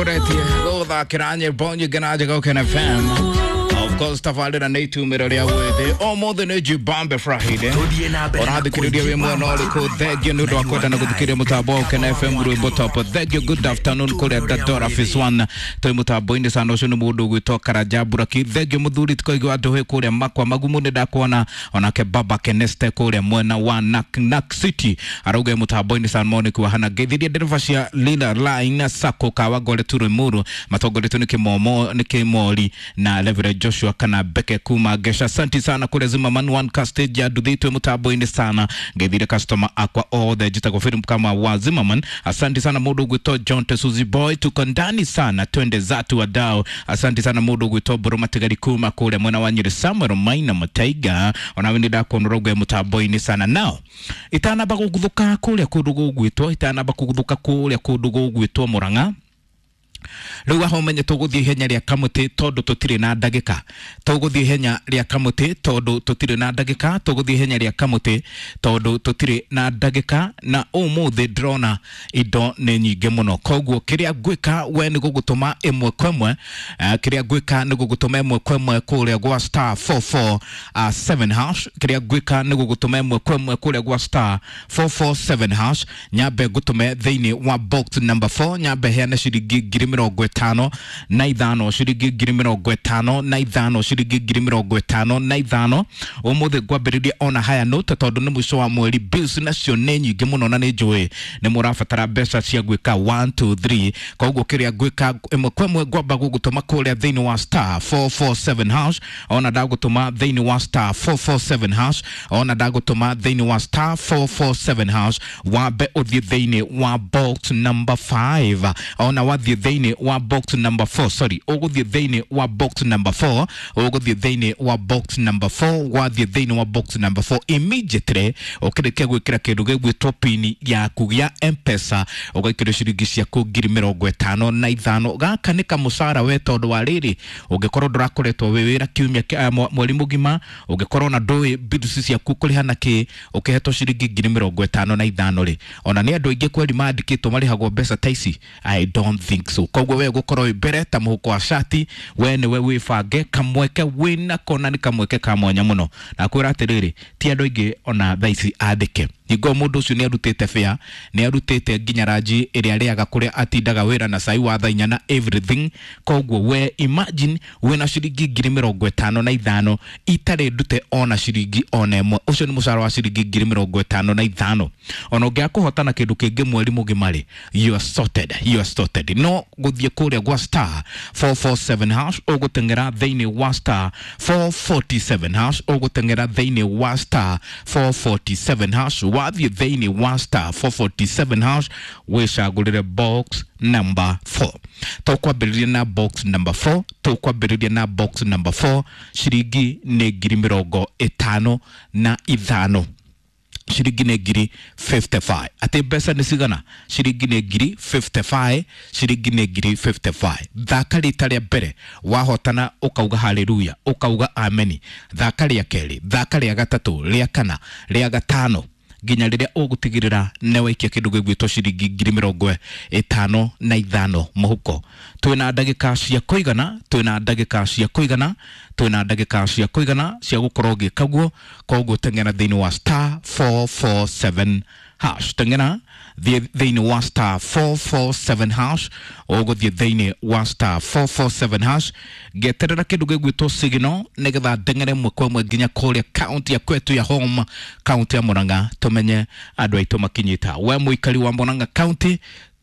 Kuretie guthakira nyimbo nyingĩ na njega Ũkena FM. Of course tabarĩra nĩ itumĩro rĩa wĩthĩ ũmũthĩ nĩ Jibambe Friday. Tũthiĩ na mbere na Ũrathikĩrĩria wĩ mwena ũrĩkũ? Thengiũ nĩ ũndũ wa kwenda na gũthikĩrĩria mũtambo wa Ũkena FM rwĩmbo top. Thengiũ, good afternoon kũrĩa Dandora Phase 1 twĩ mũtambo-inĩ sana. Ũcio nĩ mũndũ ũgwĩtwo Karanja Buraki. Thengiũ mũthuri tikoigua andũ kũrĩa makwa magumu nĩ ndakuona onake baba Keneste kũrĩa mwena wa Nak Nak City arauga mũtambo-inĩ sana moniki wa hana ngeithirie ndereba cia Lila Line Sacco Kawangware Turimuru matongoretio nĩ Kĩmomo nĩ Kĩmori na Reverend Joshua kana Beke kuma Gesha. Asante sana kũrĩa Zimmerman One Car Stage ya nduthitwe mũtambo-inĩ sana ngeithire customer akwa othe njĩtagwo Philip kama wa Zimmerman. Asante sana mũndũ ũgwĩtwo John Tesuzi Boy, tuko ndani sana twende zatu wadau. Asante sana mũndũ ũgwĩtwo Mbũrũ Matigari kuma kũrĩa mwena wa Nyĩrĩ Samuel Maina Mataiga onawe nĩ ndakuona ũrauga mũtambo-inĩ sana nao itanamba gũguthũka kũrĩa kũndũ gũgwĩtwo itanamba kũguthũka kũrĩa kũndũ gũgwĩtwo Mũrang'a rĩu aho ũmenye tũgũthiĩ ihenya rĩa kamũtĩ tondũ tũtirĩ na ndagĩka tũgũthiĩ ihenya rĩa kamũtĩ tondũ tũtirĩ na ndagĩka tũgũthiĩ ihenya rĩa kamũtĩ tondũ tũtirĩ na ndagĩka na ũmũthĩ ndĩrona indo nĩ nyingĩ mũno koguo kĩrĩa ngwĩka we nĩ gũgũtũma ĩmwe kwa ĩmwe kĩrĩa ngwĩka nĩ gũgũtũma ĩmwe kwa ĩmwe kũrĩa gwa star 447 hash kĩrĩa ngwĩka nĩ gũgũtũma ĩmwe kwa ĩmwe kũrĩa gwa star 447 hash nyambe ngũtũme thĩinĩ wa box number 4 nyambe heane ciringi 55,000 ciringi 55,000 ciringi 55,000 ũmũthĩ ngwambĩrĩria ona haya note tondũ nĩ mũico wa mweri bills nacio nĩ nyingĩ mũno na nĩ njũĩ nĩ mũrabatara mbeca cia gwĩka 1 2 3 koguo kĩrĩa ngwĩka ĩmwe kwa ĩmwe ngwamba gũgũtũma kũrĩa thĩinĩ wa star 447 hash ona ndagũtũma thĩinĩ wa star 447 hash ona ndagũtũma thĩinĩ wa star 447 hash wambe ũthiĩ thĩinĩ wa box number 5 ona wathiĩ thĩinĩ wa box number 4 sorry ũgũthiĩ thĩinĩ wa box number 4 ũgũthiĩ thĩinĩ wa box number 4 wathiĩ thĩinĩ wa box number 4 immediately ũkĩrĩkia gwĩkĩra kĩndũ gĩgwĩtwo pini yaku ya mpesa ũgaikĩria ciringi ciaku 55,000 gaka nĩ kamũcara we tondũ wa rĩrĩ ũngĩkorwo ndũrakoretwo wĩ wĩra kiumia mweri mũgima ũngĩkorwo na ndũĩ bills ciaku kũrĩha na kĩ ũkĩhetwo ciringi 55,000 rĩ ona nĩ andũ aingĩ kweri mandĩkĩtwo marĩhagwo mbeca ta ici. I don't think so. Koguo we gũkorwo wĩ mbere ta mũhuko wa cati we nĩwe wĩbange kamweke wĩnako na nĩ kamweke ka mwanya mũno na kwĩra atĩrĩrĩ ti andũ aingĩ ona thaa ici andĩke hingo mũndũ ũcio nĩ arutĩte bĩa nĩ arutĩte nginya ranji ĩrĩa arĩaga kũrĩa atindaga wĩra na cai wa thaa inya na everything koguo we imagine wĩna ciringi 55,000 itarĩ ndute ona ciringi ona ĩmwe ũcio nĩ mũcara wa ciringi 55,000 ona ũngĩaga kũhotana kĩndũ kĩngĩ mweri mũgima rĩ you are sorted, you are sorted. No gũthiĩ kũrĩa gwa star 447 hash ũgũteng'era thĩinĩ wa star 447 hash ũgũteng'era thĩinĩ wa star 447 hash wathiĩ thĩinĩ wa star 447 hash wĩcagũrĩre box number 4 tũkwambĩrĩria na box number 4 tũkwambĩrĩria na box number 4 ciringi nĩ 55,000 ciringi nĩ 55,000 atĩ mbeca nĩ cigana ciringi nĩ 55,000 ciringi nĩ 55,000 thaka rita rĩa mbere wahotana ũkauga haleluya ũkauga ameni thaka rĩa kerĩ thaka rĩa gatatũ rĩa kana rĩa gatano nginya rĩrĩa ũgũtigĩrĩra nĩ waikia kĩndũ gĩgwĩtwo ciringi 55,000 mũhuko twĩna ndagĩka cia kũigana twĩna ndagĩka cia kũigana twĩna ndagĩka cia kũigana cia gũkorwo ũgĩka guo koguo teng'era thĩinĩ wa star 447 hash teng'era thiĩ thĩinĩ wa star 447 hash ũgũthiĩ thĩinĩ wa star 447 hash ngeterera kĩndũ gĩgwĩtwo signal nĩgetha ndeng'ere ĩmwe kwa ĩmwe nginya kũrĩa kaunti ya kwetu ya home kaunti ya Murang'a tũmenye andũ aitũ makinyĩta we mũikari wa Murang'a kaunti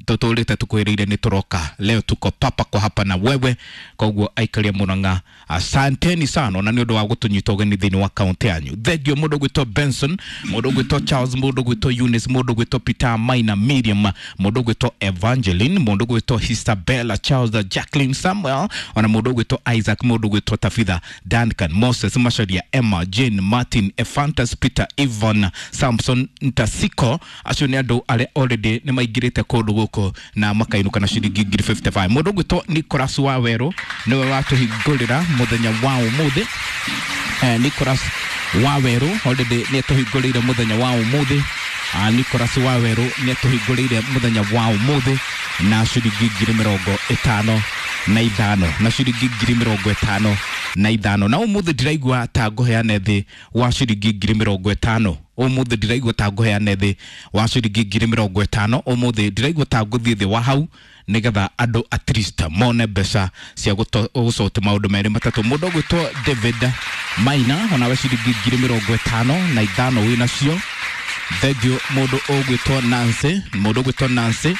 tũtũrĩte tũkwĩrĩire nĩ tũroka leo tuko papa kwa hapa na wewe koguo aikaria Murang'a asanteni sana na nĩ ũndũ wa gũtũnyita ũgeni thĩinĩ wa kaunti yanyu thengio mũndũ ũgwĩtwo Benson mũndũ ũgwĩtwo Charles mũndũ ũgwĩtwo Eunice mũndũ ũgwĩtwo Peter Maina Miriam mũndũ ũgwĩtwo Evangeline mũndũ ũgwĩtwo Isabella Charles Jacqueline Samuel ona mũndũ ũgwĩtwo Isaac mũndũ ũgwĩtwo Tafitha Duncan Moses Macharia Emma Jane Martin Ephantus Peter Ivan Samson Ntasiko acio nĩ andũ arĩa already nĩ maingĩrĩte kũndũ gũkũ na makainũka na ciringi 55,000 mũndũ ũgwĩtwo Nicholas Wawerũ nĩwe watũhingũrĩra mũthenya wa ũmũthĩ Nicholas Wawerũ already nĩ atũhingũrĩire mũthenya wa ũmũthĩ Nicholas Wawerũ nĩ atũhingũrĩire mũthenya wa ũmũthĩ na ciringi ngiri mĩrongo ĩtano na ithano, na ciringi ngiri mĩrongo ĩtano na ithano. Na ũmũthĩ ndĩraigua ta ngũheane thĩ wa ciringi ngiri mĩrongo ĩtano. Ũmũthĩ ndĩraigua ta ngũheane thĩ wa ciringi ngiri mĩrongo ĩtano. Ũmũthĩ ndĩraigua ta ngũthiĩ thĩ wa hau nĩgetha andũ at least mone mbeca cia gũcoti maũndũ merĩ matatũ. Mũndũ ũgwĩtwo David Maina, onawe ciringi ngiri mĩrongo ĩtano na ithano wĩ nacio. Thengiũ. Mũndũ ũgwĩtwo Nancy, mũndũ ũgwĩtwo Nancy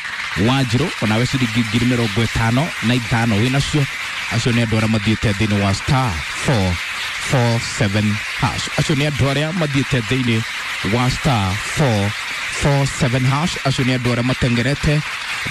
Wanjirũ, onawe ciringi ngiri mĩrongo ĩtano na ithano wĩ nacio. Acio nĩ andũ arĩa mathiĩte thĩinĩ wa star 447 hash. Acio nĩ andũ arĩa mathiĩte thĩinĩ wa star 447 hash. Acio nĩ andũ arĩa matengerete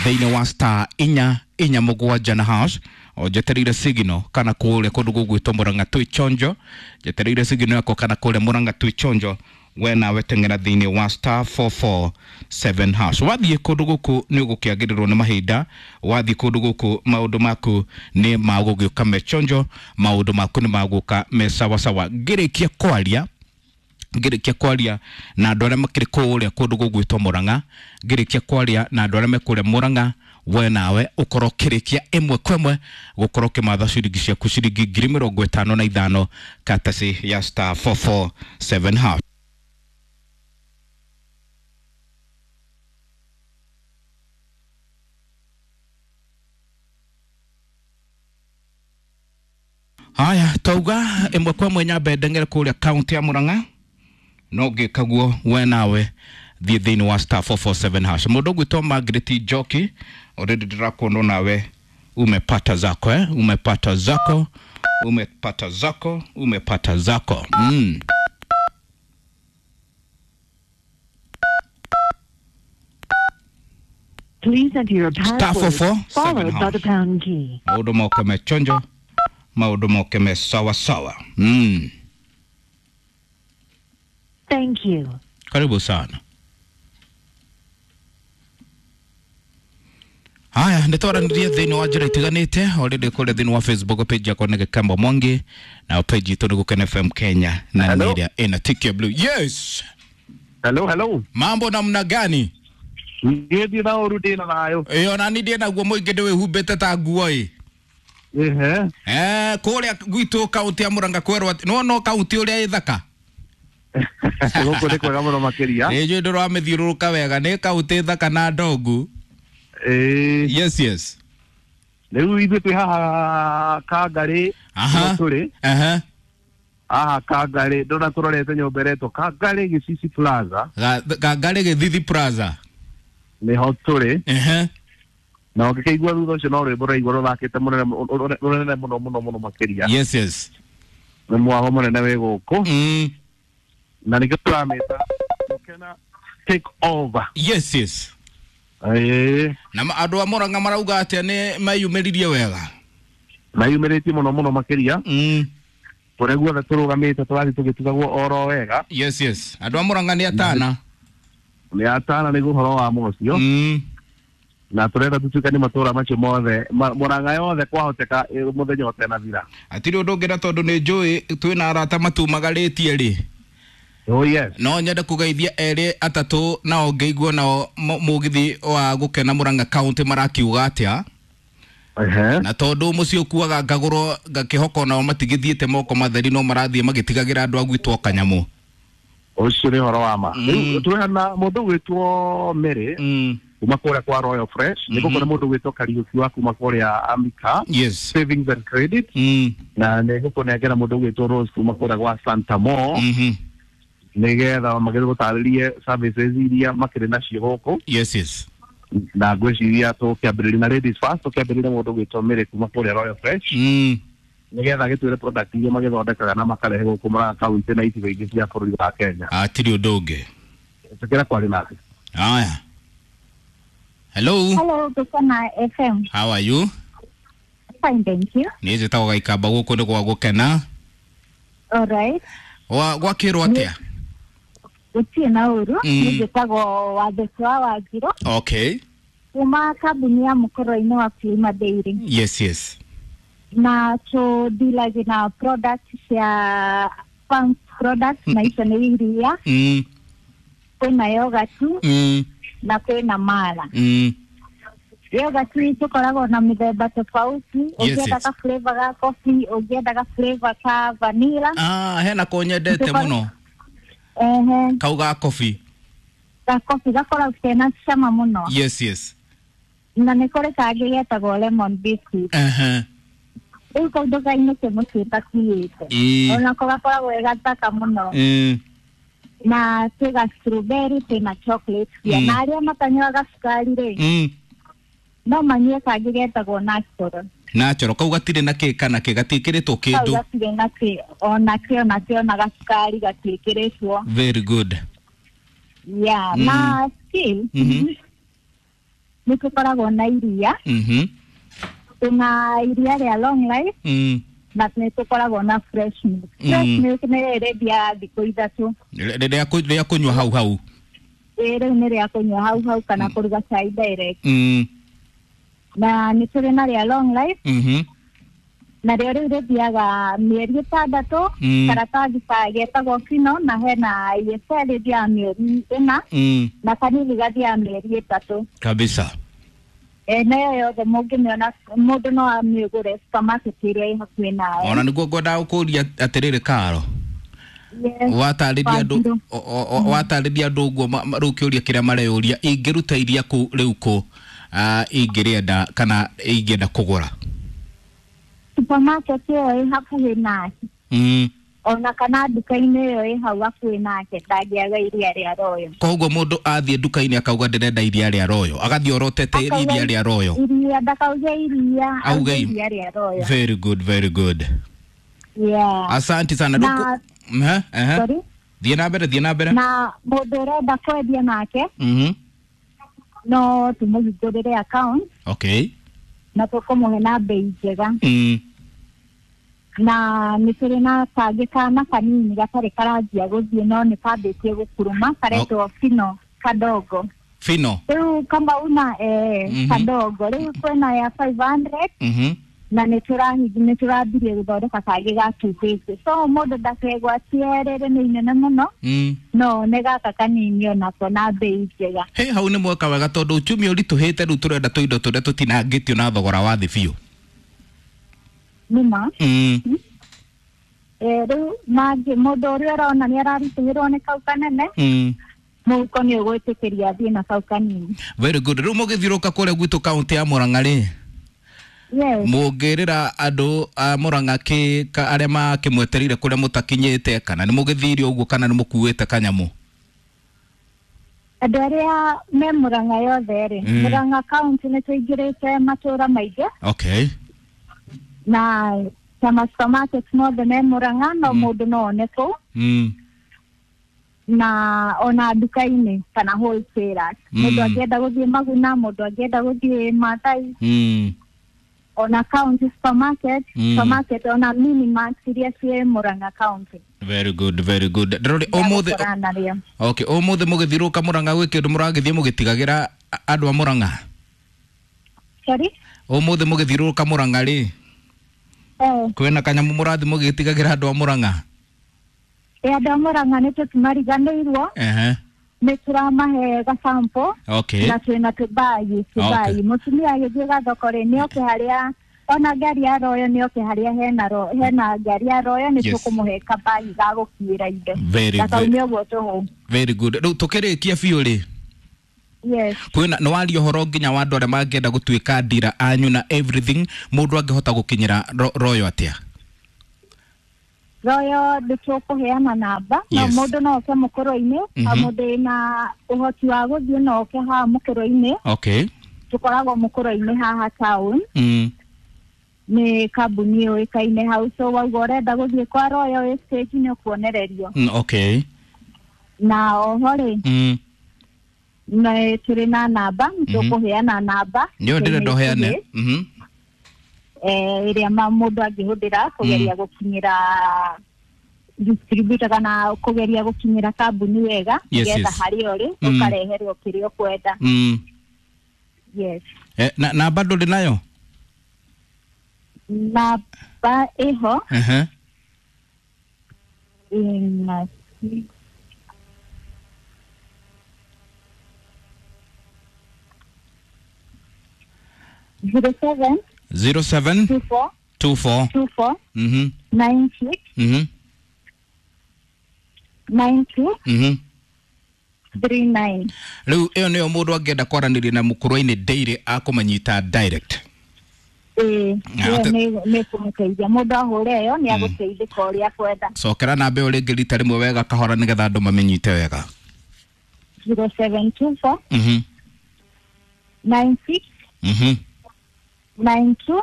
thĩinĩ wa star inya inya mũgwanja na hash. O njetereire signal kana kũrĩa kũndũ gũgwĩtwo Murang'a twĩ chonjo. Njetereire signal yakwa kana kũrĩa Murang'a twĩ chonjo. We nawe teng'era thĩinĩ wa star 447 hash. Wathiĩ kũndũ gũkũ nĩ ũgũkĩagĩrĩrwo nĩ mahinda. Wathiĩ kũndũ gũkũ maũndũ maku nĩ magũgĩũka me chonjo, maũndũ maku nĩ magũka me sawasawa. Ngĩrĩkia kwaria na andũ arĩa makĩrĩ kũrĩa kũndũ gũgwĩtwo Murang'a, ngĩrĩkia kwaria na andũ arĩa me kũrĩa Murang'a, we nawe ũkorwo ũkĩrĩkia ĩmwe kwa ĩmwe gũkorwo ũkĩmatha ciringi ciaku, ciringi ngiri mĩrongo ĩtano na ithano, katasi ya star 447 hash. Haya, tauga ĩmwe kwa ĩmwe nyambe ndeng'ere kũrĩa kaunti ya Murang'a. No ngĩkaguo, we nawe thiĩ thĩinĩ wa star 447 hash. Mũndũ ũgwĩtwo Margaret Njoki, already ndĩrakuona nawe umepata zako, eh? Umepata zako, umepata zako, umepata zako. Please enter your Star password 447 followed by the hash. pound key. Maũndũ moke me chonjo, maũndũ moke me sawa sawa. Thank you. Karibu sana. Haya, nĩ twaranĩrie thĩinĩ wa njĩra itiganĩte. Already kũrĩa thĩinĩ wa Facebook page yakwa nĩ Gĩkamba Mwangi, na page itũ nĩ Gũkena FM Kenya, na Hello. nĩ ĩrĩa ĩna tick ya blue. Yes. Hello, hello. Mambo namna gani? Ngĩthiĩ na ũru, ndĩna thayũ. Ĩyo nani ndĩ naguo mũingĩ ndĩwĩhumbĩte ta nguo ĩ. Ehe. Eh, kũrĩa gwitũ kaunti ya Murang'a kwerwo atĩ no no kaunti ũrĩa ĩthaka. Gũkũ nĩ kwega mũno makĩria. Nĩ njũĩ ndũramĩthiũrũrũka wega, nĩ kaunti thaka na ndongu. Ĩĩ. Yes. Rĩu ithuĩ twĩ haha Kangarĩ. Aha. Nĩho tũrĩ. Haha Kangarĩ, ndona tũrorete nyũmba ĩretwo Kangarĩ Gĩcici Plaza. Kangarĩ Gĩthithi Plaza. Nĩho tũrĩ. Na ũngĩkĩigua thutha ũcio no rwĩmbo rũraigua rũthakĩte mũnene rũnene mũno mũno mũno makĩria. Yes. Nĩ mwago mũnene wĩ gũkũ. Na nĩkĩo tũramĩta Gũkena Take Over. Yes. Ĩĩ. Na andũ a Murang'a marauga atĩa, nĩ meyumĩririe wega? Mayumĩrĩtie mũno mũno makĩria. Kũrĩa guothe tũrũgamĩte tũrathiĩ tũgĩtugagwo oro wega. Yes. Andũ a Murang'a nĩ atana. Nĩ atana nĩguo ũhoro wa mũcio. Na tũrenda tũtuĩke nĩ matũra macio mothe, Mũrang'a yothe kwahoteka, mũthenya ũtenathira. Hatirĩ ũndũ ũngĩ, na tondũ nĩ njũĩ twĩna arata matumagarĩtie rĩ, Oh yes. no nyende kũgeithia erĩ atatũ nao ngĩigua nao mũgithi wa Gũkena Murang'a County marakiuga atĩa. Na tondũ mũciĩ ũkuaga ngagũrwo, ngakĩhoka nao matigĩthiĩte moko matheri, no marathiĩ magĩtigagĩra andũ a gwitũ o kanyamũ. Ũcio nĩ ũhoro wa ma. Rĩu twĩna mũndũ ũgwĩtwo Mary kuma kũrĩa kwa Royal Fresh, nĩ gũkũ nĩ mũndũ ũgwĩtwo Kariũki wa kuma kũrĩa Amica Savings and Credit, na nĩ gũkũnengera mũndũ ũgwĩtwo Rose kuma kũrĩa gwa Santa Mo, nĩgetha magĩthiĩ gũtarĩrie services iria makĩrĩ nacio gũkũ. Yes. Na ngwĩciria tũkĩambĩrĩria na ladies first, tũkĩambĩrĩria mũndũ ũgwĩtwo Mary kuma kũrĩa Royal Fresh, nĩgetha agĩtwĩre product iria magĩthondekaga na makarehe gũkũ Murang'a kaunti na icigo ingĩ cia bũrũri wa Kenya. Hatirĩ ũndũ ũngĩ. Tũkĩra kwarĩ nake. Haya, hello. Hello, Gukena FM. How are you? Fine, thank you. Niĩ njĩtagwo Gaikamba, gũkũ nĩ gwa Gũkena. All right. Gwakĩrwo atĩa? Gũtirĩ na ũru. Niĩ njĩtagwo Watheci wa Wanjirũ kuma kambuni ya mũkoro-inĩ wa Prima Dairy. Yes. Na tũndilagi na product cia farm product, na icio nĩ iria, kwĩna yogurt na kwĩna mala. Yogurt tũkoragwo na mĩthemba tofauti. Ũngĩenda ka flavor ga coffee, ũngĩenda ka flavor ka vanilla. Ah, hena ko nyendete mũno. Ehe. Kau ga coffee. Ga coffee gakoragwo kena cama mũno. Yes, yes. Na nĩ kũrĩ kangĩ getagwo lemon biscuit. Ehe. Rĩu kau ndũkainũke mũciĩ ũtakuĩte. Onako gakoragwo ge gathaka mũno. Na twĩga strawberry, twĩna chocolate. Na arĩa matanyuaga cukari rĩ, no manyue kangĩ getagwo natural. Natural kau gatirĩ na kĩ kana kĩ gatiĩkĩrĩtwo kĩndũ. Kau gatirĩ na kĩ ona kĩ ona kĩ ona gacukari gatiĩkĩrĩtwo. Very good. Yeah, na still nĩ tũkoragwo na iria. Tuna iria rĩa long life. Na nĩ tũkoragwo na fresh milk. Fresh milk nĩ ĩrĩthiaga thikũ 3. Rĩa kũnyua hau hau. Ĩĩ, rĩu nĩ rĩa kũnyua hau hau kana kũruga cai direct. Na nĩ tũrĩ na rĩa long life. Na rĩo rĩu rĩthiaga mĩeri 6, karatathi getagwo fino, na hena ESL ĩthiaga mĩeri 4, na kanini gathiaga mĩeri 3. Kabisa. Nayo yothe mũngĩmĩona mũndũ no amĩgũre supermarket ĩrĩa ĩ hakuhĩ nawe. Ona nĩguo ngwendaga gũkũria atĩrĩrĩ Karo. Watarĩria andũ ũguo rĩu kĩũria kĩrĩa mareyũria, ingĩruta iria kũ rĩu kũ ingĩrĩenda kana ingĩenda kũgũra? Supermarket ĩyo ĩ hakuhĩ nake. Ona kana nduka-inĩ ĩyo ĩ hau hakuhĩ nake ndangĩaga iria rĩa Royal. Koguo mũndũ athiĩ nduka-inĩ akauga ndĩrenda iria rĩa Royal, agathiĩ orotete iria rĩa Royal. Iria ndakauge iria, auge iria rĩa Royal. Very good, very good. Yeah. Asante sana. Sorry? Thiĩ na mbere, thiĩ na mbere. Na mũndũ ũrenda kwendia nake, no tũmũhingũrĩre account. Okay. Na tũkũmũhe na bei njega. Na nĩ tũrĩ na kangĩ kana kanini gatarĩ karanjia gũthiĩ no nĩ kambĩtie gũkuruma, karetwo fino kadogo. Fino? Rĩu kama una kadogo. Rĩu kwĩna ya 500. Na nĩ tũrambirie gũthondeka kangĩ ga 250. So mũndũ ndakegwatie rĩrĩ nĩ inene mũno, no nĩ gaka kanini onako na bei njega. He, hau nĩ mweka wega tondũ uchumi ũritũhĩte rĩu tũrenda tũindo tũrĩa tũtinangĩtio na thogora wa thĩ biũ. Nĩma. Rĩu mũndũ ũrĩa ũrona nĩ araritũhĩrwo nĩ kau kanene, mũhuko nĩ ũgwĩtĩkĩria athiĩ na kau kanini. Very good. Rĩu mũgĩthiũrũka kũrĩa gwitũ kaũntĩ ya Murang'a rĩ, yes, mũngĩrĩra andũ a Murang'a kĩ arĩa makĩmwetereire kũrĩa mũtakinyĩte, kana nĩ mũgĩthire ũguo kana nĩ mũkuĩte kanyamũ? Andũ arĩa me Murang'a yothe rĩ, Murang'a county nĩ tũingĩrĩte matũra maingĩ. Okay. Na ta supermarket mothe me Murang'a, no mũndũ no one kũu. Na ona nduka-inĩ kana wholesalers. Mũndũ angĩenda gũthiĩ Maguna, mũndũ angĩenda gũthiĩ Maathai. Ona county supermarket, supermarket ona mini mart iria ciĩ Murang'a county. Very good, very good. Ndĩrori ũmũthĩ. Okay, ũmũthĩ mũgĩthiũrũka Murang'a gwĩ kĩndũ mũragĩthiĩ mũgĩtigagĩra andũ a Murang'a? Sorry? Ũmũthĩ mũgĩthiũrũrũka Murang'a rĩ, kwĩna kanyamũ mũrathiĩ mũgĩtigagĩra andũ a Murang'a? Andũ a Murang'a nĩ tũtimariganĩirwo. Nĩ tũramahe gasample. Okay. Na twĩna tũbagi, tũbagi. Mũtumia agĩthiĩ gathoko rĩ, nĩ oke harĩa ona ngari ya Royal, nĩ oke harĩa hena ngari ya Royal, nĩ tũkũmũhe kabagi ga gũkuĩra indo. Ndakaume ũguo tũhũ. Very good. Rĩu tũkĩrĩkia biũ rĩ, yes, kwĩna nĩ waria ũhoro nginya wa andũ arĩa mangĩenda gũtuĩka ndira anyu na everything, mũndũ angĩhota gũkinyĩra Royal atĩa? Royal nĩ tũkũheana namba. No mũndũ no oke mũkũrũ-inĩ, mũndũ wĩna ũhoti wa gũthiĩ no oke haha mũkũrũ-inĩ. Okay. Tũkoragwo mũkũrũ-inĩ haha town. Nĩ kambuni yũĩkaine hau, so wauga ũrenda gũthiĩ kwa Royal wĩ stage nĩ ũkuonererio. Okay. Na oho rĩ, nĩ tũrĩ na namba, tũkũheana namba. Nĩyo ndĩrenda ũheane. Ĩrĩa mũndũ angĩhũthĩra kũgeria gũkinyĩra distributor kana kũgeria gũkinyĩra kambuni wega, nĩgetha harĩa ũrĩ ũkareherwo kĩrĩa ũkwenda. Yes. Na namba ndũrĩ nayo? Namba ĩho. 07 07 24 24 24 96 92 39. Rĩu ĩyo nĩyo mũndũ angĩenda kwaranĩria na mũkũrũ-inĩ daily akũmanyita direct. Ĩĩ, Na ĩyo nĩ kũmũteithia mũndũ ahũre ĩyo nĩ agũteithĩka ũrĩa akwenda. Cokera namba ĩyo rĩngĩ rita rĩmwe wega kahora nĩgetha andũ mamĩnyite wega. 0724 96 92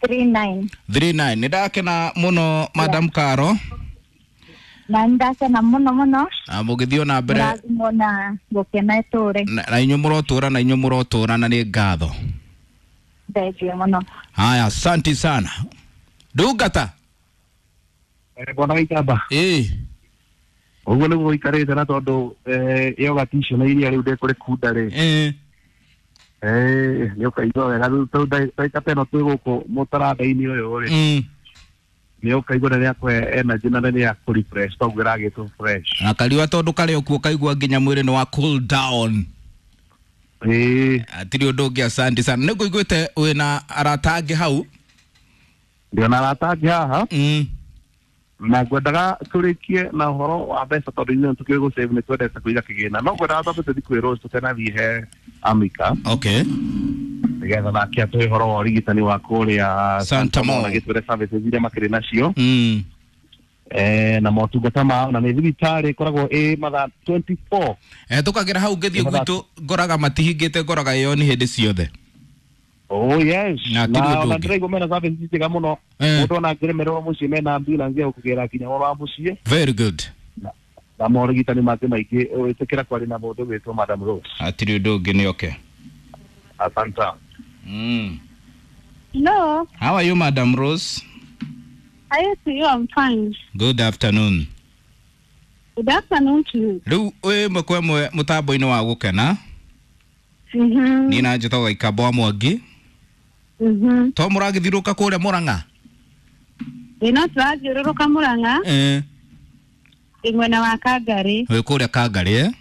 39. 39. Nĩ ndakena mũno, Madam Karo. Na nĩ ndakena mũno mũno. Na mũgĩthiĩ o na mbere. Mũrathimwo na gũkena ĩtũre. Na inyuĩ mũrotũra, na inyuĩ mũrotũra, na nĩ ngatho. Thengiũ mũno. Haya, asante sana ndungata. Bwana Gĩikamba. Ĩĩ. Ũguo nĩguo gũikarĩte, na tondũ yogati icio na iria rĩu ndĩkũrĩkunda rĩ, nĩ ũkaigua wega. Rĩu tondũ ndagĩka ta ĩno twĩ gũkũ mũtaranda-inĩ ũyũ rĩ, nĩ ũkaigua nĩ rĩakũhe energy na nĩ rĩa kũ refresh, toguo ĩragĩtwo fresh. Na kariũa tondũ karĩ o kuo kaigua nginya mwĩrĩ nĩ wa cool down. Ĩĩ. Atirĩ ũndũ ũngĩ, asante sana. Nĩ ngũiguĩte wĩna arata angĩ hau. Ndĩona arata angĩ haha. Na ngwendaga tũrĩkie na ũhoro wa mbeca, tondũ ithuĩ tũkĩũĩ gũ save, nĩ twendete kũiga kĩgĩna, no ngwendaga twambe tũthiĩ kwĩ Rose tũtanathiĩ he Amika, nĩgetha nake atũhe ũhoro wa ũrigitani wa kũrĩa Santa Mo. na gĩtwĩre services iria makĩrĩ nacio na motungata mao, na nĩ thibitarĩ ĩkoragwo ĩ mathaa 24. Tũkagĩra hau ngĩthiĩ gwitũ ngoraga matihingĩte, ngoraga ĩyo nĩ hĩndĩ ciothe. Oh yes. Na hatirĩ na ũndũ ona ũngĩ. ndĩraigua mena services njega mũno. Mũndũ ona angĩremererwo mũciĩ, mena ambulance ya gũkũgĩra nginya ũhoro wa mũciĩ. Very good. Na morigitani mangĩ maingĩ. Wĩtĩkĩra kwaria na mũndũ wĩtwo Madam Rose. Hatirĩ ũndũ ũngĩ, nĩ okay. Asante. Hello. How are you, Madam Rose? Hi to you. I'm fine. Good afternoon. Good afternoon to you. Rĩu wĩ ĩmwe kwa ĩmwe mũtambo-inĩ wa gũkena. Niĩ na njĩtagwo Gĩkamba wa Mwangi. To mũragĩthiũrũrũka kũrĩa Mũrang'a? Ĩ, no tũrathiũrũrũka Mũrang'a. Ĩ, mwena wa Kangarĩ. Wĩ kũrĩa Kangarĩ, eh?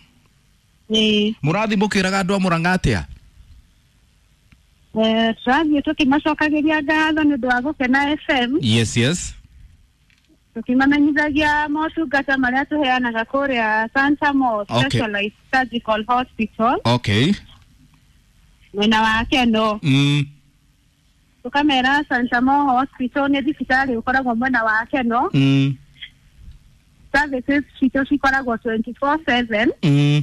Ĩ. Mũrathiĩ mũkĩraga andũ a Mũrang'a atĩa? Tũrathiĩ tũkĩmacokagĩria ngatho nĩ ũndũ wa Gũkena FM. Yes. Tũkĩmamenyithagia motungata marĩa tũheanaga kũrĩa Santa Mo Specialized Surgical Hospital mwena wa Keno. Tũkamera Santa Mo Hospital nĩ thibitarĩ ũkoragwo mwena wa Keno. Services citũ cikoragwo 24/7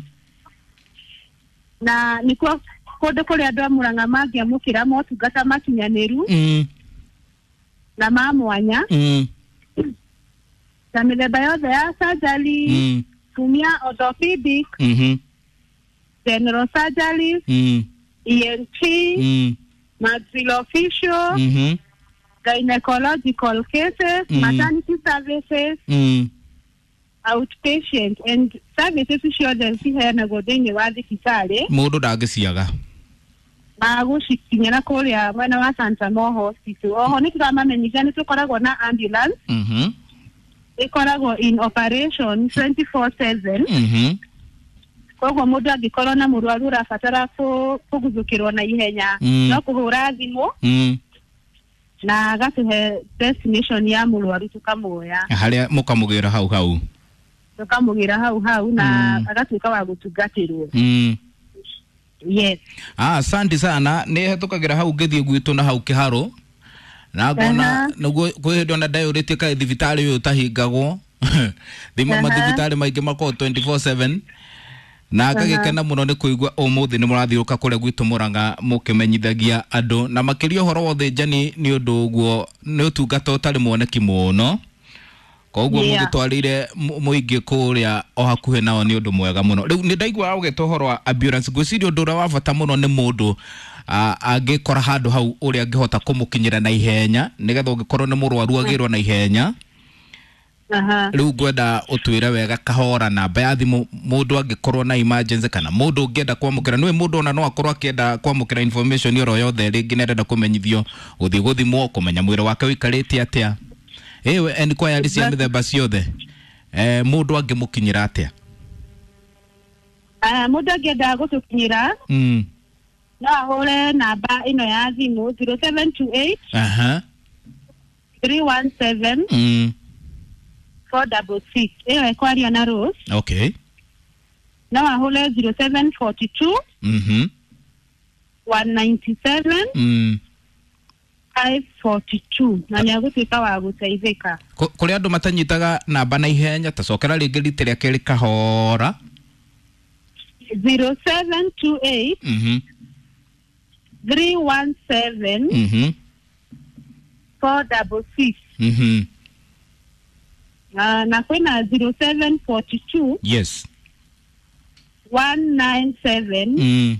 na nĩkuo kũndũ kũrĩa andũ a Mũrang'a mangĩamũkĩra motungata makinyanĩru na ma mwanya na mĩthemba yothe ya surgery, tumia orthopedic, general surgery, ENT, maxillofacial, gynecological cases, maternity services, outpatient and services ciothe ciheanagwo thĩinĩ wa thibitarĩ. Mũndũ ndangĩciaga. Magũcikinyĩra kũrĩa mwena wa Santa Mo Hospital. Oho nĩ tũramamenyithia nĩ tũkoragwo na ambulance ĩkoragwo in operation 24/7. Koguo mũndũ angĩkorwo na mũrwaru ũrabatara kũguthũkĩrwo na ihenya, no kũhũra thimũ na agatũhe destination ya mũrwaru, tũkamuoya. Harĩa mũkamũgĩra hau hau. Tũkamũgĩra hau hau na agatuĩka wa gũtungatĩrwo. Yes. Ah, asante sana. Nĩ hetũkagĩra hau ngĩthiĩ gwitũ na hau kĩharũ na ngona. Nĩguo kwĩ hĩndĩ ona ndayũrĩtie kaĩ thibitarĩ ũyũ ũtahingagwo thima. Mathibitarĩ maingĩ makoragwo 24/7, na ngagĩkena mũno nĩ kũigua ũmũthĩ nĩ mũrathiũrũka kũrĩa gwitũ Mũrang'a mũkĩmenyithagia andũ na makĩria ũhoro wa ũthĩnjani, nĩ ũndũ ũguo nĩ ũtungata ũtarĩ mwoneki mũno, koguo mũgĩtwarĩire mũingĩ kũrĩa o hakuhĩ nao nĩ ũndũ mwega mũno. Rĩu nĩ ndaigua ũgĩta ũhoro wa ambulance. Ngwĩciria ũndũ ũrĩa wa bata mũno nĩ mũndũ angĩkora handũ hau ũrĩa angĩhota kũmũkinyĩra na ihenya, nĩgetha ũngĩkorwo nĩ mũrwaru agĩrwo na ihenya. Rĩu ngwenda ũtwĩre wega kahora namba ya thimũ mũndũ angĩkorwo na emergency, kana mũndũ ũngĩenda kwamũkĩra nĩwe mũndũ ona no akorwo akĩenda kwamũkĩra information oro yothe, rĩngĩ nĩ arenda kũmenyithio gũthiĩ gũthimwo, kũmenya mwĩrĩ wake ũikarĩte atĩa, ĩwe enquiry cia mĩthemba ciothe, mũndũ angĩmũkinyĩra atĩa? Ah, mũndũ angĩenda gũtũkinyĩra No ahũre namba ĩno ya thimũ 0728 317 466. Ĩyo ĩkwaria na Rose. Okay. No ahũre 0742 197 542 na nĩ agũtuĩka wa gũteithĩka. Kũrĩ andũ matanyitaga namba na ihenya, ta cokera rĩngĩ rita rĩa kerĩ kahora. 0728 317 466. Na kwĩna 0742 yes 197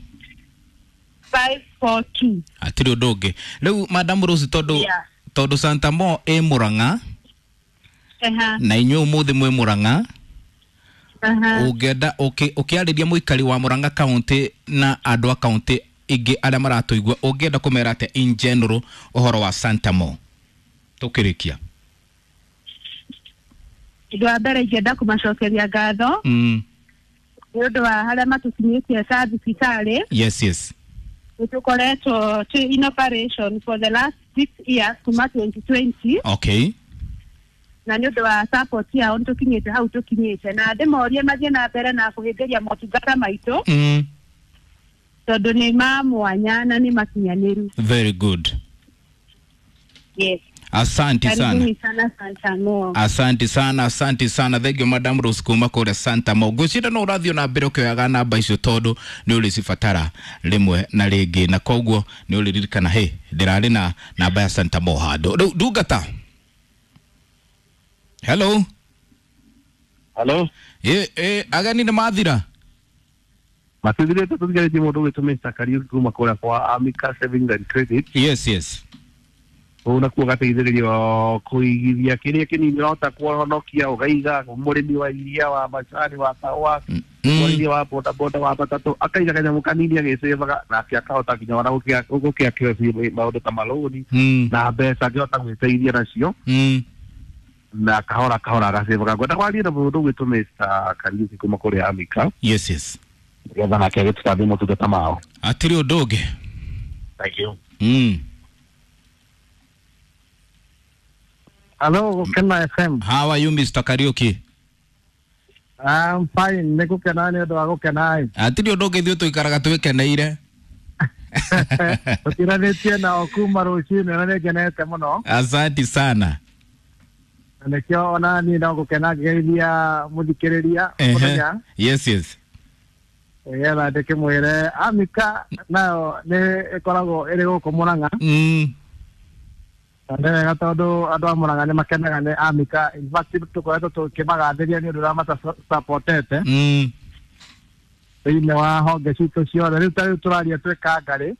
542. Hatirĩ ũndũ ũngĩ. Rĩu Madam Rose, tondũ Santa Mo ĩ Murang'a na inyuĩ ũmũthĩ mwĩ Murang'a, ũngĩenda ũkĩarĩria mũikari wa Murang'a County na andũ a county ingĩ arĩa maratũigua, ũngĩenda kũmera atĩa in general ũhoro wa Santa Mo tũkĩrĩkia? Ũndũ wa mbere ingĩenda kũmacokeria ngatho nĩ ũndũ wa harĩa matũkinyĩtie ta thibitarĩ. Yes, yes. Nĩtũkoretwo twĩ in operation for the last 6 years kuma 2020. Okay. Na nĩ ũndũ wa support yao nĩtũkinyĩte hau tũkinyĩte, na ndĩmorie mathiĩ na mbere na kũhĩmbĩria motungata maitũ tondũ nĩ ma mwanya na nĩ makinyanĩru. Very good. Yes. Asante sana. Sana Santa Mo. Asante sana, asante sana. Thank you Madam Rose kuma kũrĩa Santa Mo. Ngwĩciria no ũrathiĩ na mbere ũkĩoyaga namba icio tondũ nĩ ũrĩcibatara rĩmwe na rĩngĩ, na koguo nĩ ũrĩririkana hĩ ndĩrarĩ na namba ya Santa Mo handũ. Rĩu ndungata. Hello. Hello. Ageni nĩ mathira? Matithirĩte, tũtigarĩtie mũndũ ũgwĩtwo Mr. Kariuki kuma kũrĩa kwa Amica Savings and Credit. Yes, yes. Ũũ nakuo gateithĩrĩrio kũigithia kĩrĩa kĩnini ũrahota kũhonokia ũgaiga, mũrĩmi wa iria, wa macani, wa kahũa, mwarithia wa boda boda, wa matatũ, akaiga kanyamũ kanini agĩcĩvaga nake akahota nginya ona gũkĩakĩra maũndũ ta malũni na mbeca angĩhota gwĩteithia nacio na kahora kahora agacĩvaga. Ngwenda kwaria na mũndũ ũgwĩtwo Mr. Kariuki kuma kũrĩa Amica. Yes, yes. Nĩgetha nake agĩtũtambie motungata mao. Hatirĩ ũndũ ũngĩ. Thank you. Hello, Gukena FM. How are you, Mr. Kariuki? I'm fine. Nĩ gũkena nĩ ũndũ wa gũkena. Hatirĩ ũndũ ũngĩ, ithuĩ tũikaraga twĩkeneire. Tũtiranĩtie nao kuma rũcinĩ na nĩ ngenete mũno. Asante sana. Na nĩkĩo ona niĩ no gũkena ngĩgeithia mũthikĩrĩria mũthenya. Yes, yes. Nĩgetha ndĩkĩmwĩre Amica nayo nĩ ĩkoragwo ĩrĩ gũkũ Murang'a. Nĩ wega tondũ andũ a Murang'a nĩ makenaga nĩ Amica. In fact tũkoretwo tũkĩmagathĩria nĩ ũndũ ũrĩa matacapotete thĩinĩ wa honge citũ ciothe. Rĩu ta rĩu tũraria twĩ Kangarĩ.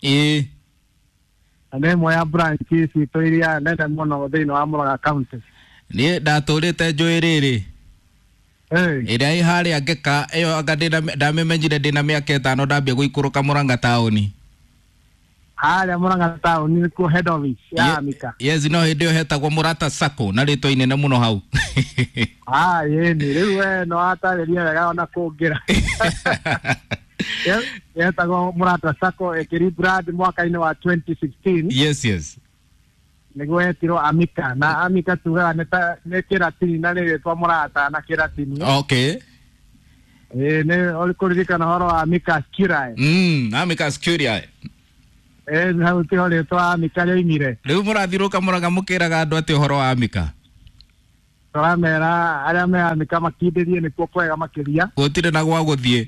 Na nĩ ĩmwe ya branch citũ iria nene mũno thĩinĩ wa Murang'a County. Niĩ ndatũrĩte njũĩ rĩrĩ ĩrĩa ĩ harĩa Ngeka ĩyo, anga ndamĩmenyire ndĩna mĩaka 5 ndambia gũikũrũka Murang'a taũni. Harĩa Murang'a taũni nĩkuo head office ya Amica. Yes, no hĩndĩ ĩyo hetagwo Mũrata Sacco na rĩtwa inene mũno hau. Ĩni rĩu we no watarĩria wega ona kũngĩra. Yetagwo Mũrata Sacco ĩkĩrebrand mwaka-inĩ wa 2016. Yes, yes. Nĩguo yetirwo Amica, na Amica tugaga nĩ kĩratini na nĩ rĩtwa Mũrata na kĩratini. Okay. Nĩ ũrĩkũririkana ũhoro wa Amica Curiae. Amica Curiae. Hau tiho rĩtwa Amica rĩoimire. Rĩu mũrathiũrũka Murang'a mũkĩraga andũ atĩ ũhoro wa Amica? Tũramera arĩa me Amica makindĩrie nĩkuo kwega makĩria. Gũtirĩ na gwa gũthiĩ.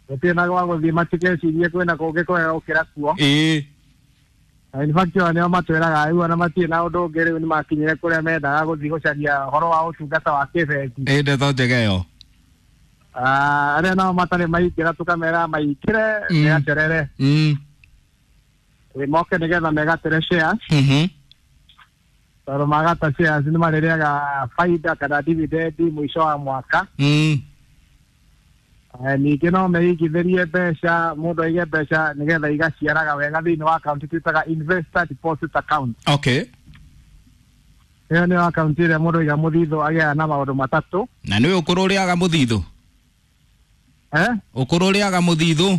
Gũtirĩ na gwa gũthiĩ, matigecirie kwĩna kũngĩ kwega gũkĩra kuo. In fact o nĩo matwĩraga rĩu ona matirĩ na ũndũ ũngĩ, rĩu nĩmakinyire kũrĩa mendaga gũthiĩ gũcaria ũhoro wa ũtungata wa kĩbengi. Ndeto njega ĩyo. Arĩa nao matarĩ maingĩra tũkamera maingĩre megacerere. Moke nĩgetha megatĩre shares. Tondũ magata shares nĩ marĩrĩaga baida kana dividend mũico wa mwaka. Ningĩ no meigithĩrie mbeca, mũndũ aige mbeca nĩgetha igaciaraga wega thĩinĩ wa akaunti twĩtaga investor deposit account. Okay. Ĩyo nĩyo akaunti ĩrĩa mũndũ aiga mũthithũ agĩaga na maũndũ matatũ. Na nĩwe ũkũrũ ũrĩaga mũthithũ? Ũkũrũ ũrĩaga mũthithũ?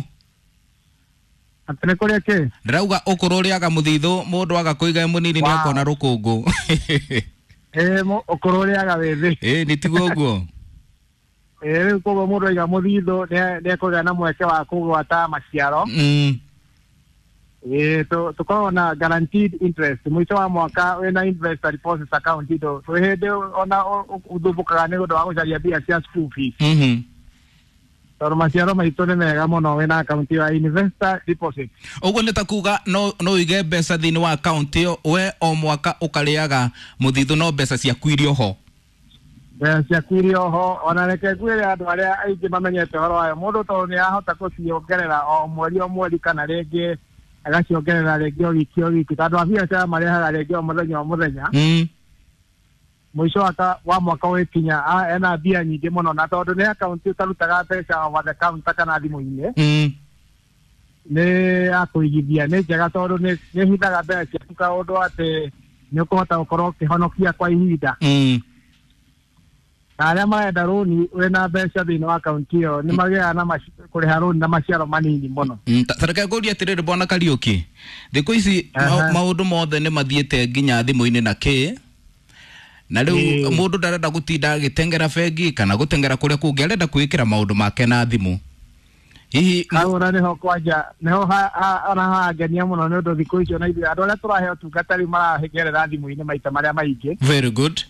Atĩ nĩ kũrĩa kĩ? Ndĩrauga ũkũrũ ũrĩaga mũthithũ, mũndũ aga kũiga mũnini nĩ akona rũkũngũ. Ĩĩ, ũkũrũ ũrĩaga wĩthĩ. Ĩĩ, nĩ tiguo ũguo. Ĩĩ, rĩu koguo mũndũ aiga mũthithũ nĩ ekũgĩa na mweke wa kũgwata maciaro. Ĩĩ, tũkoragwo na guaranteed interest mũico wa mwaka wĩna investor deposit account ndũ twĩ hĩndĩ ona ũthumbũkaga nĩ ũndũ wa gũcaria mbia cia school fees. Tondũ maciaro maitũ nĩ mega mũno wĩna account ya investor deposit. Ũguo nĩ ta kuga no ũige mbeca thĩinĩ wa account ĩyo, we o mwaka ũkarĩaga mũthithũ no mbeca ciaku irĩ oho. Mbeca ciaku irĩ oho. Ona reke ngwĩre andũ arĩa aingĩ mamenyete ũhoro wayo, mũndũ tondũ nĩ ahota gũciongerera o mweri o mweri kana rĩngĩ agaciongerera rĩngĩ o wiki o wiki, tondũ a biacara marehaga rĩngĩ o mũthenya o mũthenya. Mũico wa mwaka ũgĩkinya ena mbia nyingĩ mũno, na tondũ nĩ akaunti ũtarutaga mbeca over the counter kana thimũ-inĩ, nĩ ya kũigithia, nĩ njega tondũ nĩ ĩhithaga mbeca ciaku kaũndũ atĩ nĩ ũkũhota gũkorwo ũkĩhonokia kwa ihinda. Na arĩa marenda rũni wĩna mbeca thĩinĩ wa akaunti ĩyo nĩ magĩaga na kũrĩha rũni na maciaro manini mũno. Ta reke ngũrie atĩrĩrĩ bwana Kariũki, thikũ ici maũndũ mothe nĩ mathiĩte nginya thimũ-inĩ na kĩ, na rĩu mũndũ ndarenda gũtinda agĩteng'era bengi kana gũteng'era kũrĩa kũngĩ, arenda kwĩkĩra maũndũ make na thimũ. Hihi hau ona nĩho kwanja nĩho ona hangenia mũno nĩ ũndũ thikũ icio na ithuĩ andũ arĩa tũrahe ũtungata rĩu maragerera thimũ-inĩ maita marĩa maingĩ. Very good.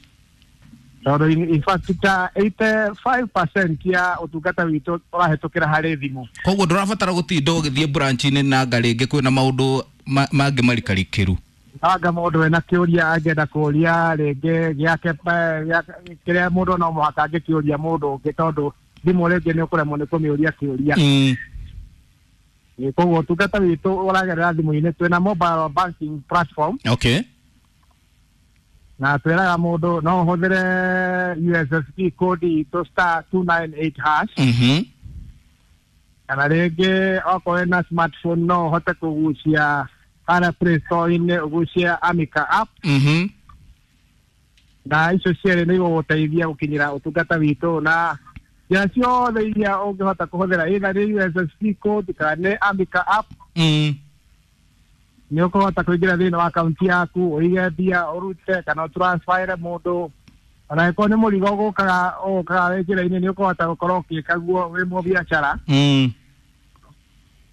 Tondũ in fact ta 85% ya ũtungata witũ ũrahĩtũkĩra harĩ thimũ. Koguo ndũrabatara gũtinda ũgĩthiĩ branch-inĩ na anga rĩngĩ kwĩna maũndũ mangĩ marikarikĩru. Anga mũndũ wĩna kĩũria angĩenda kũũria rĩngĩ gĩake kĩrĩa mũndũ no mũhaka angĩkĩũria mũndũ ũngĩ, tondũ thimũ rĩngĩ nĩ ũkũremwo nĩ kũmĩũria kĩũria. Koguo ũtungata witũ ũragerera thimũ-inĩ, twĩna mobile banking platform. Okay. Na twĩraga mũndũ no ũhũthĩre USSD code itũ *298#. Kana rĩngĩ okorwo wĩna smartphone no ũhote kũgucia harĩa Play Store-inĩ ũgucie Amica app. Na icio cierĩ nĩ igũgũteithia gũkinyĩra ũtungata witũ na njĩra ciothe iria ũngĩhota kũhũthĩra, either nĩ USSD code kana nĩ Amica app. Nĩ ũkũhota kũingĩra thĩinĩ wa akaunti yaku ũige mbia ũrute kana ũtransferre mũndũ, ona angĩkorwo nĩ mũrigo ũgũkaga wĩ njĩra-inĩ nĩ ũkũhota gũkorwo ũgĩka guo wĩ mũbiacara.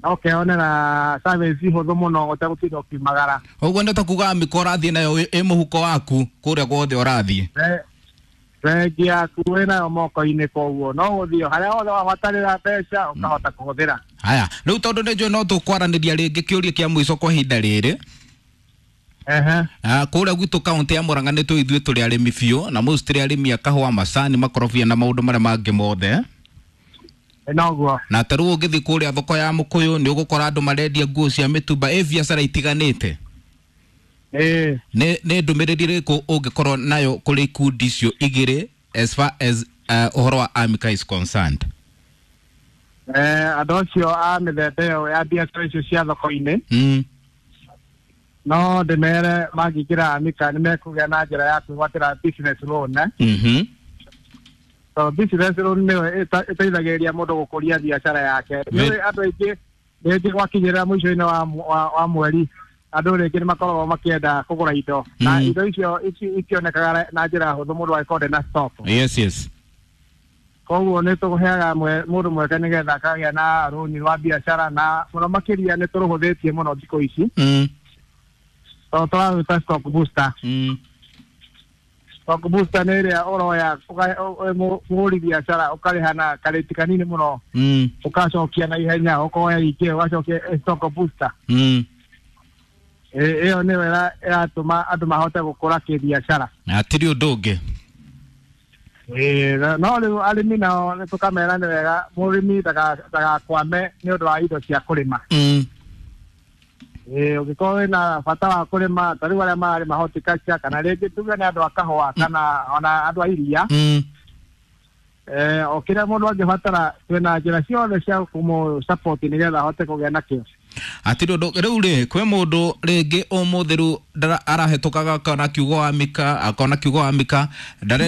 Na ũkeyonera service hũthũ mũno ũtegũtinda ũkiumagara. Ũguo nĩ ta kuga Amica ũrathiĩ nayo ĩ mũhuko waku kũrĩa guothe ũrathiĩ. Bengi yaku wĩnayo moko-inĩ, koguo no gũthiĩ harĩa hothe wabatarĩra mbeca ũkahota kũhũthĩra. Haya, rĩu tondũ nĩ njũĩ no tũkwaranĩria rĩngĩ kĩũria kĩa mũico kwa ihinda rĩrĩ. Kũrĩa gwitũ kaũntĩ ya Murang'a nĩ tũĩ ithuĩ tũrĩ arĩmi biũ, na most tũrĩ arĩmi a kahũa, macani, makorobia na maũndũ marĩa mangĩ mothe. Noguo. Na ta rĩu ũngĩthiĩ kũrĩa thoko ya Mũkũyũ nĩ ũgũkora andũ marendia nguo cia mĩtumba, ĩ biacara itiganĩte. Nĩ ndũmĩrĩri ĩrĩkũ ũngĩkorwo nayo kũrĩ ikundi icio igĩrĩ as far as ũhoro wa Amica is concerned? Andũ acio a mĩthemba ĩyo ya biacara icio cia thoko-inĩ, no ndĩmere mangĩingĩra Amica nĩ mekũgĩa na njĩra ya kwĩgwatĩra business loan. So business loan nĩyo ĩteithagĩrĩria mũndũ gũkũria biacara yake. Nĩ andũ aingĩ rĩngĩ gwakinyĩrĩra mũico-inĩ wa mweri andũ rĩngĩ nĩ makoragwo makĩenda kũgũra indo, na indo icio itionekaga na njĩra hũthũ mũndũ angĩkorwo ndarĩ na stock. Yes, yes. Koguo nĩ tũheaga mũndũ mweke nĩgetha akagĩa na rũni rwa biacara, na mũno makĩria nĩ tũrũhũthĩtie mũno thikũ ici. Tondũ tũrarũta stock booster. Stock booster nĩ ĩrĩa ũroya mũhũri biacara ũkarĩha na karĩti kanini mũno, ũkacokia na ihenya, ũkoya ingĩ ũgacokia stock booster. Ĩyo nĩyo ĩratũma andũ mahote gũkũra kĩbiacara. Hatirĩ ũndũ ũngĩ. No rĩu arĩmi nao nĩ tũkamera nĩ wega mũrĩmi ndagakwame nĩ ũndũ wa indo cia kũrĩma. Ũngĩkorwo wĩna bata wa kũrĩma, ta rĩu arĩa mararĩma horticulture kana rĩngĩ tuge nĩ andũ a kahũa kana ona andũ a iria, o kĩrĩa mũndũ angĩbatara twĩna njĩra ciothe cia kũmũ support nĩgetha ahote kũgĩa nakĩo. Hatirĩ ũndũ. Rĩu rĩ, kwĩ mũndũ rĩngĩ ũmũthĩ rĩu arahĩtũkaga akona kiugo Amica, akona kiugo Amica,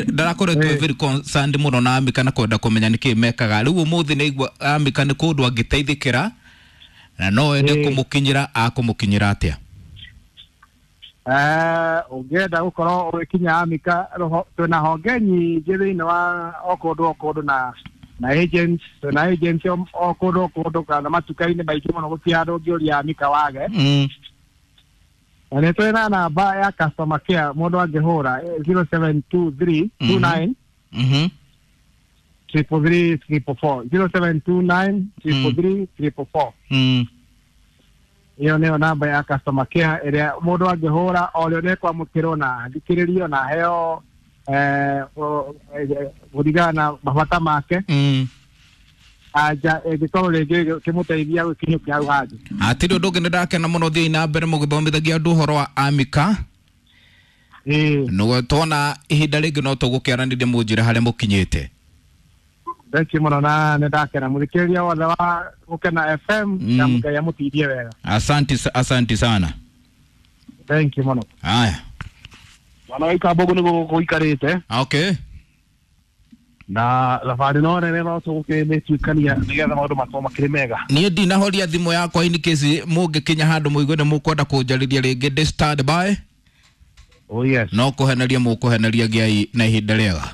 ndarakoretwo very concerned mũno na Amica na kwenda kũmenya nĩkĩ mekaga. Rĩu ũmũthĩ nĩ aigua Amica nĩ kũndũ angĩteithĩkĩra Na no ende kũmũkinyĩra, akũmũkinyĩra atĩa? Ũngĩenda gũkorwo ũgĩkinya Amika, twĩna honge nyingĩ thĩinĩ wa o kũndũ o kũndũ na agents, twĩna agents o kũndũ o kũndũ kana matuka-inĩ maingĩ mũno, gũtirĩ handũ ũngĩũria Amika wage. Na nĩ twĩna namba ya customer care mũndũ angĩhũra 0723 29 333 444, 0729 333 444. Ĩyo nĩyo namba ya customer care ĩrĩa mũndũ angĩhũra o rĩo nĩ kwamũkĩrwo na athikĩrĩrio na aheo kũringana na mabata make. Anja ĩngĩkorwo rĩngĩ kĩmũteithia gũkinyũkia hau hangĩ. Hatirĩ ũndũ ũngĩ, nĩ ndakena mũno. Thiĩi na mbere mũgĩthomithagia andũ ũhoro wa Amika. Nĩguo tuona ihinda rĩngĩ no tũgũkĩaranĩria mũnjĩre harĩa mũkinyĩte. Thank you mũno, na nĩ ndakena mũthikĩrĩria wothe wa Gũkena FM, na Ngai amũteithie wega. Asanti, asanti sana. Thank you mũno. Haya. Mwana wa Ikambogo nĩguo gũikarĩte. Okay. Na thabarĩ no nene no tũgũkĩmĩtuĩkania nĩgetha maũndũ makorwo makĩrĩ mega. Niĩ ndinahoria thimũ yakwa in case mũngĩkinya handũ mũigue nĩ mũkwenda kũnjarĩria rĩngĩ, ndĩ stand by. Oh yes. No kũheneria mũkũheneria, gĩai na ihinda rĩega.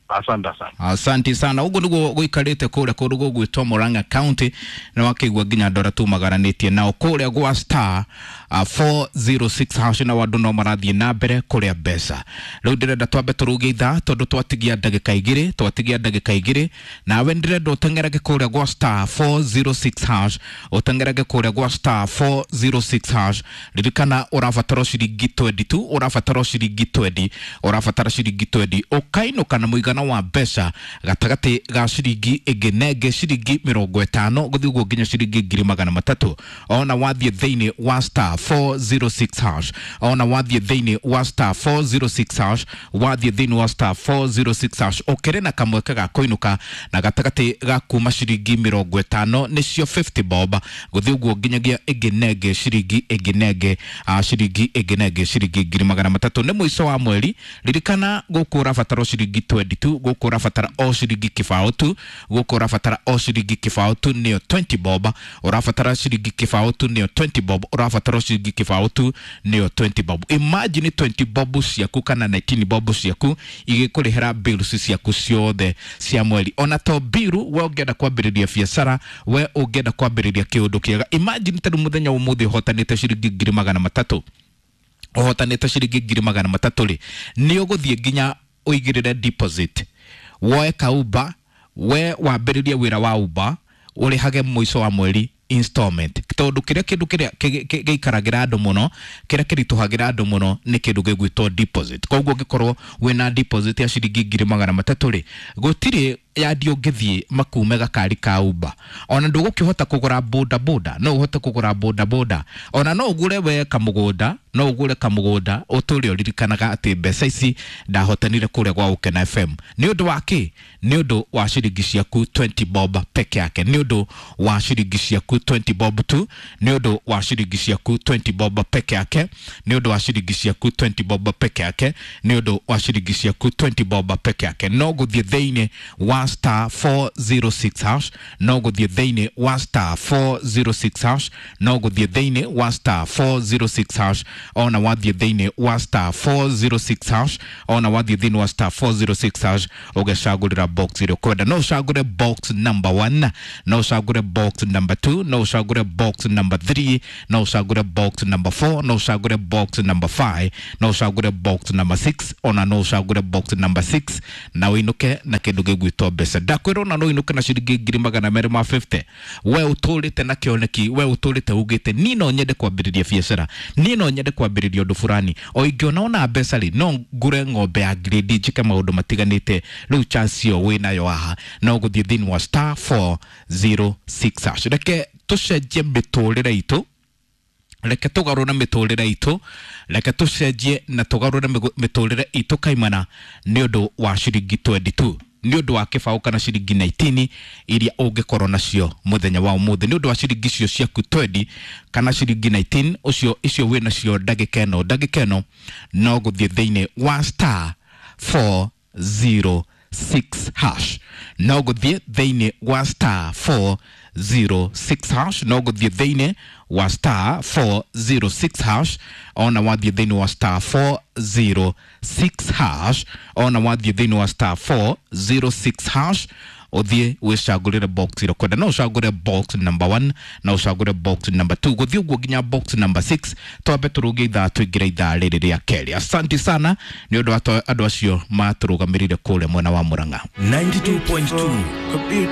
Asante sana. Asante sana. Ũguo nĩguo gũikarĩte kũrĩa kũndũ gũgwĩtwo Murang'a County, nĩ wakĩigua nginya andũ arĩa tumagaranĩtie nao kũrĩa gwa star 406 hash, na andũ no marathiĩ na mbere kũrĩa mbeca. Rĩu ndĩrenda twambe tũrũgie ithaa tondũ twatigia ndagĩka igĩrĩ, twatigia ndagĩka igĩrĩ. Nawe ndĩrenda ũteng'erage kũrĩa gwa star 406 hash, ũteng'erage kũrĩa gwa star 406 hash. Ririkana ũrabatara ciringi 20 tu, ũrabatara ciringi 20, ũrabatara ciringi 20 ũkainũka na mũigana wa mbeca gatagatĩ ga ciringi ĩngĩ na ĩngĩ ciringi 50 gũthiĩ ũguo nginya ciringi 300,000. Ona wathiĩ thĩinĩ wa star 406 hash, ona wathiĩ thĩinĩ wa star 406 hash, wathiĩ thĩinĩ wa star 406 hash, ũkĩrĩ na kamweke ga kũinũka na gatagatĩ ga kuma ciringi 50, nĩcio 50 bob, gũthiĩ ũguo nginyagia ĩngĩ na ĩngĩ ciringi ĩngĩ na ĩngĩ ciringi ĩngĩ na ĩngĩ ciringi 300,000. Nĩ mũico wa mweri, ririkana gũkũ ũrabatara ciringi 20 tu, gũkũ ũrabatara o ciringi kĩbaũ tu, gũkũ ũrabatara o ciringi kĩbaũ tu, nĩyo 20 bob. Ũrabatara ciringi kĩbaũ tu, nĩyo 20 bob. Ũrabatara ciringi kĩbaũ tu, nĩyo 20 bob. Imagine 20 bob ciaku kana 19 bob ciaku igĩkũrĩhĩra bills ciaku ciothe cia mweri. Ona to biru, we ũngĩenda kwambĩrĩria biacara, we ũngĩenda kwambĩrĩria kĩũndũ kĩega, imagine ta rĩu mũthenya wa ũmũthĩ ũhotanĩte ciringi 300,000, ũhotanĩte ciringi 300,000 rĩ, nĩ ũgũthiĩ nginya ũigĩrĩre deposit, woe ka Uber, we wambĩrĩrie wĩra wa Uber, ũrĩhage mũico wa mweri installment, tondũ kĩrĩa kĩndũ kĩrĩa gĩikaragĩra andũ mũno, kĩrĩa kĩritũhagĩra andũ mũno nĩ kĩndũ gĩgwĩtwo deposit. Koguo ũngĩkorwo wĩna deposit ya ciringi 300,000 rĩ, gũtirĩ yandi ũngĩthiĩ makume gakari ka Uber. Ona ndũgũkĩhota kũgũra boda boda, no ũhote kũgũra boda boda, ona no ũgũre we kamũgũnda, no ũgũre kamũgũnda ũtũre ũririkanaga atĩ mbeca ici ndahotanire kũrĩa gwa Gũkena FM. Nĩ ũndũ wa kĩ? Nĩ ũndũ wa ciringi ciaku 20 bob peke yake, nĩ ũndũ wa ciringi ciaku 20 bob tu, nĩ ũndũ wa ciringi ciaku 20 bob peke yake, nĩ ũndũ wa ciringi ciaku 20 bob peke yake, nĩ ũndũ wa ciringi ciaku 20 bob peke yake. No gũthiĩ thĩinĩ wa star 406 hash, no gũthiĩ thĩinĩ wa star 406 hash, no gũthiĩ thĩinĩ wa star 406 hash. Ona wathiĩ thĩinĩ wa star 406 hash, ona wathiĩ thĩinĩ wa star 406 hash, ũgecagũrĩra box ĩrĩa ũkwenda. No ũcagũre box number 1, no ũcagũre box number 2, no ũcagũre box number 3, no ũcagũre box number 4, no ũcagũre box number 5, no ũcagũre box number 6, ona no ũcagũre box number 6 na ũinũke na kĩndũ gĩgwĩtwo mbeca. Ndakwĩra ona no ũinũke na ciringi 250,000. We ũtũrĩte na kĩoneki, we ũtũrĩte ugĩte niĩ no nyende kwambĩrĩria biacara, niĩ no nyende kwambĩrĩria ũndũ fulani, o ingĩona ona mbeca rĩ, no ngũre ng'ombe ya grade, njĩke maũndũ matiganĩte. Rĩu chance ĩyo wĩnayo haha, no gũthiĩ thĩinĩ wa star 406 hash. Reke tũcenjie mĩtũrĩre itũ, reke tũgarũre mĩtũrĩre itũ, reke tũcenjie na tũgarũre mĩtũrĩre itũ kaimana nĩ ũndũ wa ciringi 22, nĩ ũndũ wa kĩbaũ kana ciringi 19 iria ũngĩkorwo nacio mũthenya wa ũmũthĩ, nĩ ũndũ wa ciringi icio ciaku 20 kana ciringi 19 ũcio icio wĩ nacio ndagĩka ĩno, ndagĩka ĩno no gũthiĩ thĩinĩ wa star 406 hash, no gũthiĩ thĩinĩ wa star 406 hash. No gũthiĩ thĩinĩ wa star 406 hash, ona wathiĩ thĩinĩ wa star 406 hash, ona wathiĩ thĩinĩ wa star 406 hash, ũthiĩ wĩcagũrĩre box ĩrĩa ũkwenda. No ũcagũre box number 1 na ũcagũre box number 2, gũthiĩ ũguo nginya box number 6. Twambe tũrũge ithaa, tũingĩre ithaa rĩrĩ rĩa kerĩ. Asanti sana nĩ ũndũ wa andũ acio matũrũgamĩrĩire kũrĩa mwena wa Mũrang'a. 92.2.